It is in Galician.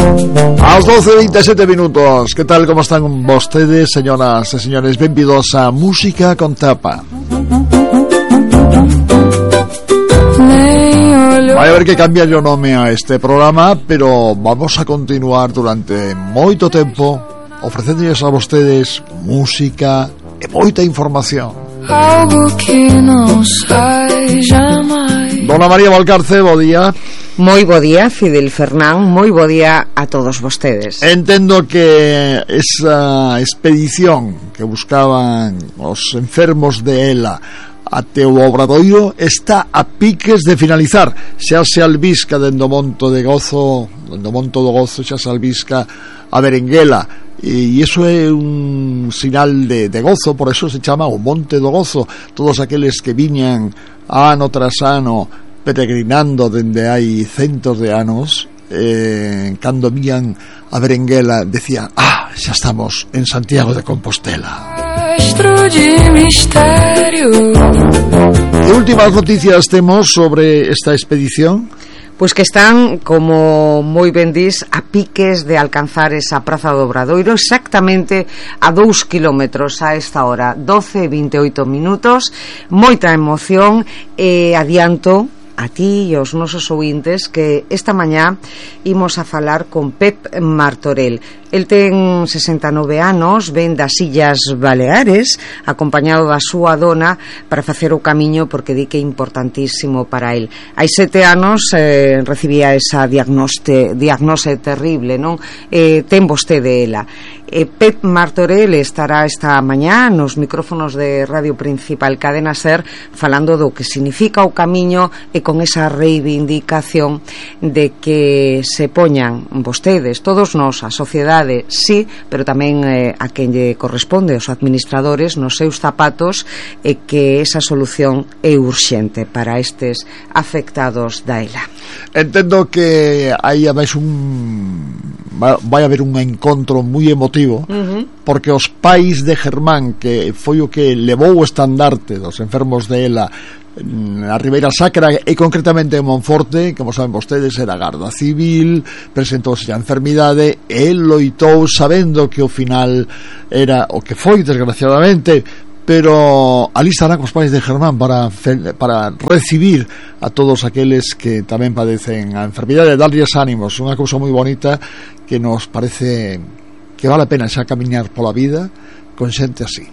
Aos 12:27 minutos. Que tal, como están vostedes, señoras e señores? Benvidos a Música con Tapa. Vai haber que cambiar o nome a este programa, pero vamos a continuar durante moito tempo ofrecéndolles a vostedes música e moita información. Algo que non sai jamais. Dona María Valcarce, bo día. Moi bo día, Fidel Fernán, moi bo día a todos vostedes. Entendo que esa expedición que buscaban os enfermos de ELA até o Obradoiro está a piques de finalizar. Xa se albisca dentro do Monte do Gozo, xa se albisca a Berenguela, e iso é un sinal de gozo, por eso se chama o Monte do Gozo. Todos aqueles que viñan ano tras ano peregrinando dende hai centos de anos, cando vían a Berenguela decían: xa estamos en Santiago de Compostela. De misterio. Que últimas noticias temos sobre esta expedición? Pois que están, como moi ben dis, a piques de alcanzar esa Praza do Obradoiro, exactamente a 2 kilómetros a esta hora, 12:28 minutos. Moita emoción, e adianto a ti e aos nosos ouvintes que esta mañá imos a falar con Pep Martorell. El ten 69 anos, ven das Illas Baleares, acompañado da súa dona para facer o camiño, porque di que é importantísimo para el. Hai 7 anos recibía esa diagnose terrible, non? Ten vostede ela. Pep Martorell estará esta mañá nos micrófonos de Radio Principal Cadena Ser falando do que significa o camiño e con esa reivindicación de que se poñan vostedes, todos nós, a sociedade, sí, pero tamén a quen lle corresponde, os administradores, nos seus zapatos, e que esa solución é urxente para estes afectados da ELA. Entendo que hai ademais vai haber un encontro moi emotivo, porque os pais de Germán, que foi o que levou o estandarte dos enfermos de ELA a Ribeira Sacra e concretamente en Monforte, como saben vostedes, era Garda Civil, presentouse a enfermidade e loitou sabendo que o final era o que foi, desgraciadamente, pero ali estará cos pais de Germán para recibir a todos aqueles que tamén padecen a enfermidade, darlles ánimos. Unha cousa moi bonita que nos parece que vale a pena xa camiñar pola vida con xente así.